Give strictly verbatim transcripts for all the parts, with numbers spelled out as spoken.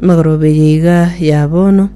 Magoroba eye iga ya bono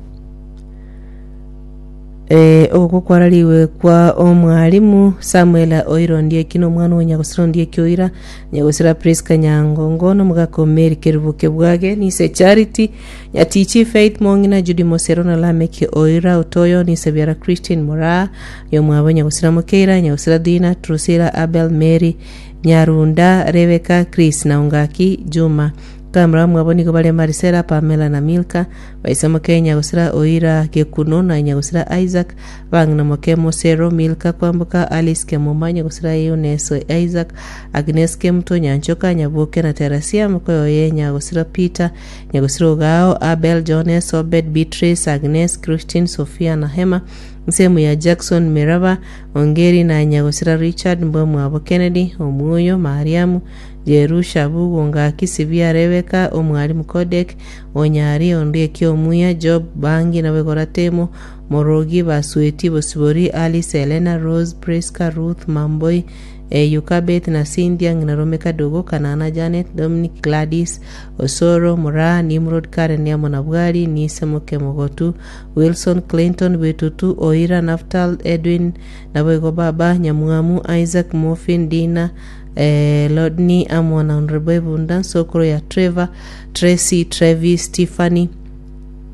eh, ogokwa kwarariwe kwa omwalimu Samuel Oira Ondieki na omwana o Nyagosira Ondieki Oira, Nyagosira Prisca Nyangongo na omogaka o Mary Kerubo Kebwage, Nise Charity Nyatichi Faith Mong'ina Judy Mosero na Lameki Oira Otoyo Nise Biara Christine Moraa yomwabo Nyagosira Mokeira Nyagosira Dina Drusilla Abel Mary Nyarunda Rebecca Chris na Ongaki Juma Kamera mwabo nigo bare Marisela Pamela na Milka baise moke Nyagosira Oira Gekuno na Nyagosira Isaac bang'ina moke Mosero Milka Kwamboka Alice Kemuma Nyagosira Eunice Isaac Agnes Kemuto Nyanchoka Nyaboke na Terasia mokoyoye Nyagosira Peter Nyagosira Ogao Abel Jones Obed Beatrice Agnes Christine Sophia na Hema nsemo ya Jackson Meraba Ongeri na Nyagosira Richard Mbwamwabo Kennedy Omuoyo Mariamu Jerusha Bugo Ngaki Sibia Rebecca Omwalimu Kodek Onyari Ondieki Omuya Job Bangi na Begora Temo Morogi Basweti Bosibori Alice Elena Rose Priska Ruth Mamboi eh, Yukabeth na Cynthia ng'ina Rome Kadogo Kanana Janet Dominic Gladys Osoro Mura Nimrod Karen amo na Bwari Nise Moke Mogotu Wilson Clinton Bitutu Oira Naftal Edwin Naboigo Baba Nyamwamu Isaac Morphin Dina eh, Lodni amo na Honorable Ebunda Nsokoro ya Trevor Tracy Travis Tiffany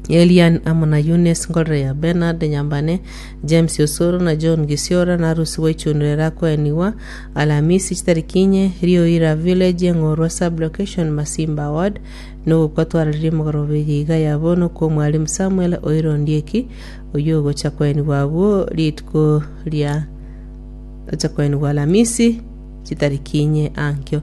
Elian amo na Eunice Ngorere ya Bernard Nyambane James Osoro na John Gisiora na Rusi Waichunurera kweniwa Alamisi chitariki inye Rioira Village Eng'orwa sub-location Masimba Ward nogokwa twararirie mogoroba eye iga ya bono kwa omwalimu Samuel Oira Ondieki oywo ogocha kweniwa abwo rituko ria ocha kweniwa Alamisi chitariki inye ankio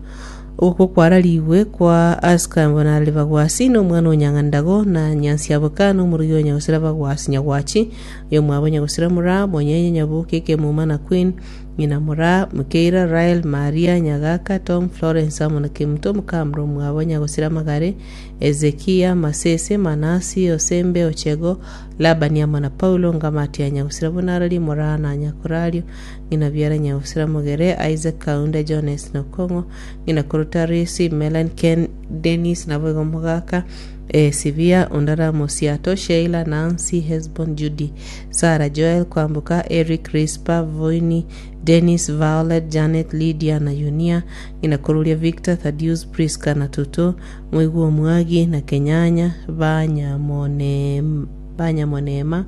ogokwa kwarariwe kwa Oscar Mbonarari Bagwasi na omwana o Nyang'andago na Nyansiaboka na omorugi o Nyagosira Bagwasi Nyagwachi oyo omwabo Nyagosira Mura Monyenye Nyaboke Kemuma na Queen ng'ina Mura Mukeira Rael Maria Nyagaka Tom Florence amo na Kemuto Mukamura omwabo Nyagosira Magare Ezekia Masese Manasi Osembe Ochego Labani amo na Paulo Ngamati ya Nyagosira Bonarari Mura na Nyakorario ng'ina biara Nyagosira Mogere Isaac Kaunda Jones Nokong'o ng'ina Korotarisi Melan Ken Dennis naboigo Mogaka eh, Sibia Ondara Mosiato Sheila Nancy Hesbon Judy Sarah Joel Kwamboka Eric Rispa Voini Dennis Violet Janet Lydia na Yunia ng'ina Koruria Victor Thaddeus Priska na Tutu Moigwa Omwagi na Kenyanya Banyamone Banyamonema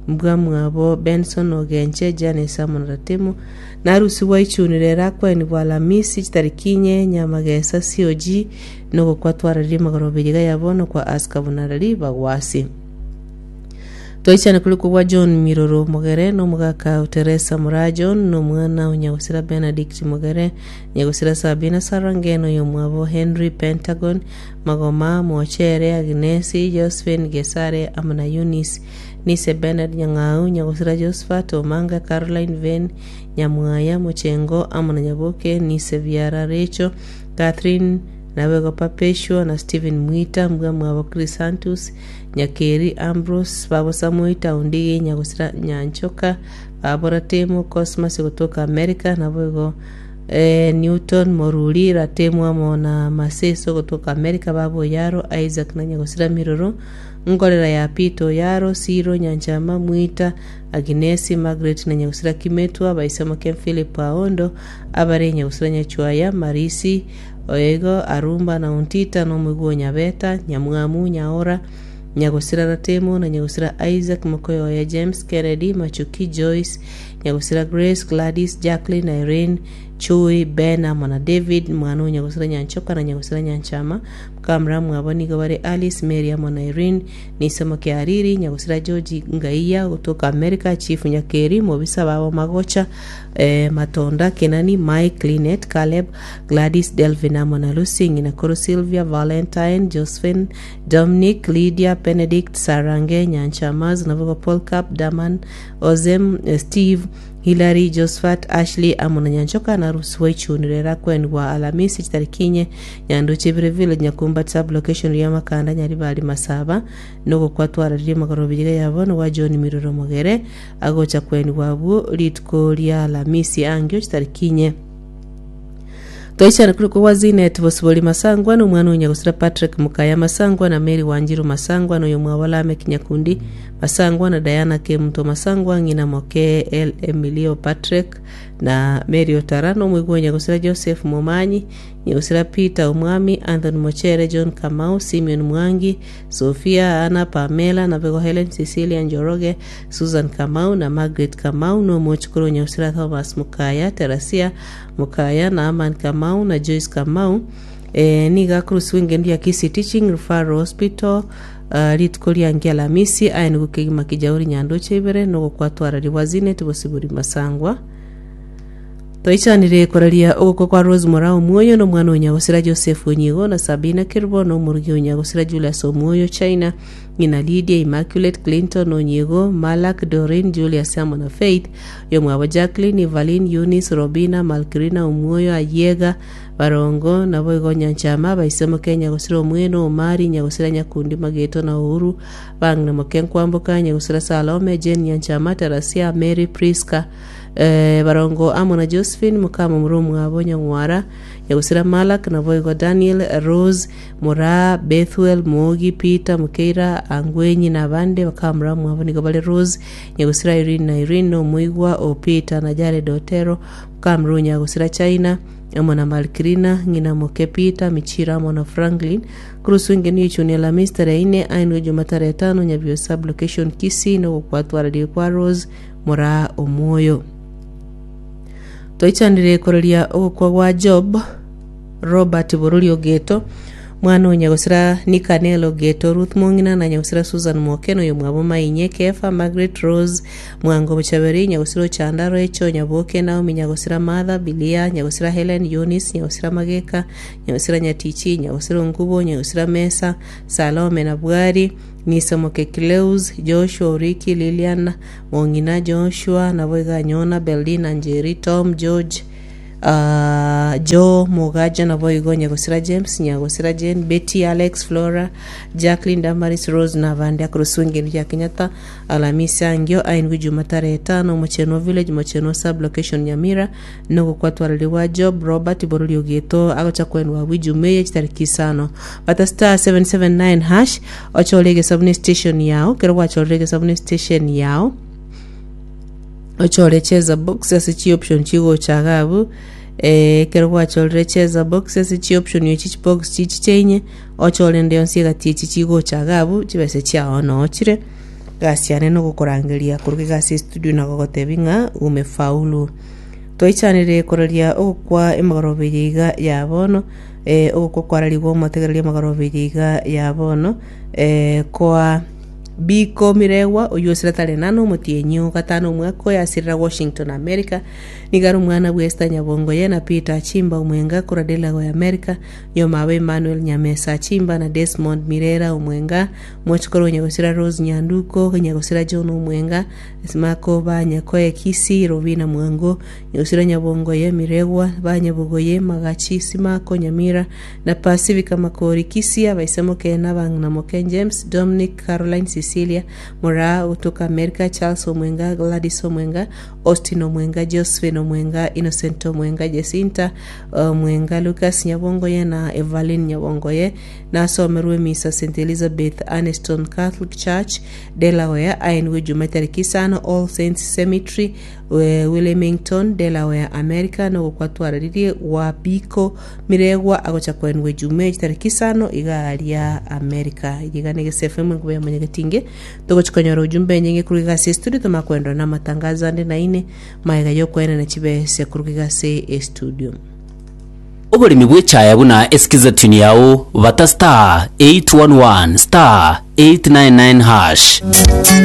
Mbwamwabo Benson Ogenche Janice amo na Ratemo narusiwa ichunire rakwenibwa Alamisi chitariki inye Nyamagesa COG nogokwa twararirie magoroba iga ya bono kwa Oscar Bonarari Bagwasi twaichane kuri kubwa John Miroro Mogere na omogaka o Teresa Mura John na omwana o Nyagosira Benedict Mogere Nyagosira Sabina Sarangeno yomwabo Henry Pentagon Magoma Mochere Agnesi Josephine Gesare amo na Eunice Nise Bernard Nyang'au Nyagosira Josephat Omanga Caroline Ven Nyamwaya Mochengo amo na Nyaboke Nise Biara Rachel Catherine nabego Perpetua na Stephen Mwita mbwa mwabo Chrysanthus Nyakeri Ambrose babo Samuita Ondigi Nyagosira Nyanchoka babo Ratemo Cosmas kutoka America naboigo eh, Newton Moruri Ratemo amo na Maseso kutoka America babo Yaro Isaac na Nyagosira Miroro Ngorera ya Pito Yaro Siro Nyanchama Mwita Agnesi Margaret na Nyagosira Kimetwa baisemo Ken Philip Aondo abare Nyagosira Nyachwaya Marisi Oego Arumba na Untita na Omwigwa Nyabeta Nyamwamu Nyaora Nyagosira Ratemo na Nyagosira Isaac Mokoyoya James Kennedy Machuki Joyce Nyagosira Grace Gladys Jacqueline Irene Chui Ben amo na David mwana o Nyagosira Nyanchoka na Nyagosira Nyanchama Mukamura mwabo nigo bare Alice Mary amo na Irene Nisemo Kiariri Nyagosira George Ngaiya kutoka America Chief Nyakeri Mobisa babo Magocha eh, Matonda Kenani Mike Linet Caleb Gladys Delvin amo na Lucy ng'ina koro Sylvia Valentine Josephine Dominic Lydia Benedict Sarange Nyanchamas Nabogo Paul Cap Daman Ozem eh, Steve Hilary Josephat Ashley amo na Nyanchoka na Rusi Waichunire kwenwa Alamisi chitariki inye Nyanduche Bire Village Nyakumba sub location ya Makanda Nyaribari Masaba nogokwa twararirie magoroba iga yabo wa John Miroro Mogere agocha kwenwa abwo rituko ria Alamisi angio chitariki inye Twaichana kuri kwa Zinet Bosibori Masangwa na omwana onyagosira Patrick Mukaya Masangwa na Mary Wanjiru Masangwa na oyo mwabo Lamek Nyakundi Masangwa na Diana Kemuto Masangwa, ng'ina moke El Emilio Patrick na Mary Otara, na omoigwa onyagosira Joseph Momanyi, nyagosira Peter Omwami, Anthony Mochere, John Kamau, Simeon Mwangi, Sophia Anna, Pamela na Bego, Helen Cecilia Njoroge, Susan Kamau na Margaret Kamau, na omochukuru onyagosira Thomas Mukaya, Terasia Mukaya na Aman Kamau na Joyce Kamau. eh, niga kurusiwa engendo ya Kisii Teaching Referral Hospital uh, rituko riange Alamisi aya nigo kegima kijauri nyandoche ibere nogokwatwarariwa Zinet Bosibori Masangwa. Toichanire koraria ogokwa kwa Rose Mora Omwoyo na omwana onyagosira Joseph Onyigo na Sabina Kirbo na omorugi onyagosira Julius Omwoyo China, ng'ina Lydia Immaculate, Clinton Onyigo, Malak, Dorin, Julius amo na Faith yomwabo, Jacqueline, Evelyn, Eunice, Robina, Malkirina Omwoyo, Ayiega Barongo nabo igo Nyanchama baisemo Kenya gosira Omweno Omari Nyagosira Nyakundi Mageto na Uhuru bang'ina moke Nkwamboka Nyagosira Salome Jane Nyanchama Tarasia Mary Priska eh, Barongo amo na Josephine mukama muri omwabo Nyang'wara Nyagosira Malak nabo igo Daniel, Rose Mora, Bethuel Mogi, Peter Mukeira Angwenyi na abande bakamura mwabo nigo bale Rose Nyagosira Irene na Irene na omoigwa o Peter na Jared Otero mukamura Nyagosira China amo na Malkirina ng'ina moke Peter Michira amo na Franklin kurusu ingeni ichuni Alhamisi tarehe ine ainwe Juma tarehe tano Nyabio sub location Kisii nogokwatwararia kwa Rose Mora Omwoyo. Toichanire koreria ogokwa gwa Job Robert Borori Ogeto, mwana onyagosira Nikanel Ogeto, Ruth Mong'ina na nyagosira Susan Mokeno oyo mwabo Mainye Kefa, Margaret Rose Mwango Bochaberi, nyagosira Ochanda Recho Nyaboke, Naomi, nyagosira Martha Bilia, nyagosira Helen Eunice, nyagosira Mageka, nyagosira Nyatichi, nyagosira Ngubo, nyagosira Mesa Salome na Bwari Nisomoke Cleus, Joshua Oriki, Lilian Mong'ina, Joshua naboiga Nyona, Beldina Njeri, Tom George, uh, Joe Mugaja naboigo Nyagosira James, Nyagosira Jane, Betty, Alex, Flora, Jacqueline, Damaris, Rose na abandi akurusu ngendo ya Kenyatta Alamisi angio ainwi Juma tarehe tano Mocheno Village, Mocheno sub location Nyamira nogokwatwarariwa Job Robert Borori Ogeto agocha kwenwa wijumeye chitariki isano. Bata star seven seven nine hash ochore sabuni station yao kero gwachorege sabuni station yao ochore cheza box ase chi option chigochaga abu eh kero gwachorire cheza box ase chi option yo chi box chichi chenye ochore nde onsi egati echi chigochaga abu chibese chiao noochire gasi yane nogokorangeria koruga egasi studio nagogotebi ng'a umefaulu. Toichanire koraria ogokwa emagoroba eye iga ya bono eh, ogokwa kwararigwa omotegereria emagoroba eye iga ya bono eh, koa Biko Miregwa oyo osira tarehe nano omotienyi gatano omwaka oyo asirira Washington America nigari omwana bwa Esther Nyabongoye na Peter Achimba Omwenga korwa Delaware ya America nyomabo Emmanuel Nyamesa Achimba na Desmond Mirera Omwenga mochikoro Nyagosira Rose Nyanduko, Nyagosira John Omwenga Simako Banyakoye Kisi, Robina Mwango, Nyagosira Nyabongoye Miregwa Banyabugoye Magachi Simako Nyamira na Pacifica Makori Kisi abaisemo Kena Bang'ina Moke James Dominic Caroline Cecilia Mora kutoka America, Charles Omwenga, Gladys Omwenga, Austin Omwenga, Josephine Omwenga, Innocent Omwenga, Jacinta Omwenga, Lucas Nyabongoye na Evelyn Nyabongoye nasomerwe misa Saint Elizabeth Aniston Catholic Church Delaware ainwe Juma tariki isano All Saints Cemetery Wilmington Delaware America nogokwatwararirie wa Biko Miregwa agocha kwenwe Juma tariki isano iga America iga nige F M nguya manyagetinge togochikonyora ujumbe nyinge kuruga ase studio tomakwendwa na matangazo ande na ine maega yokwena na chibese kuruga ase studio. Oboremi bw'echaya buna esikiza tune yao bata star eight one one star eight nine nine hash.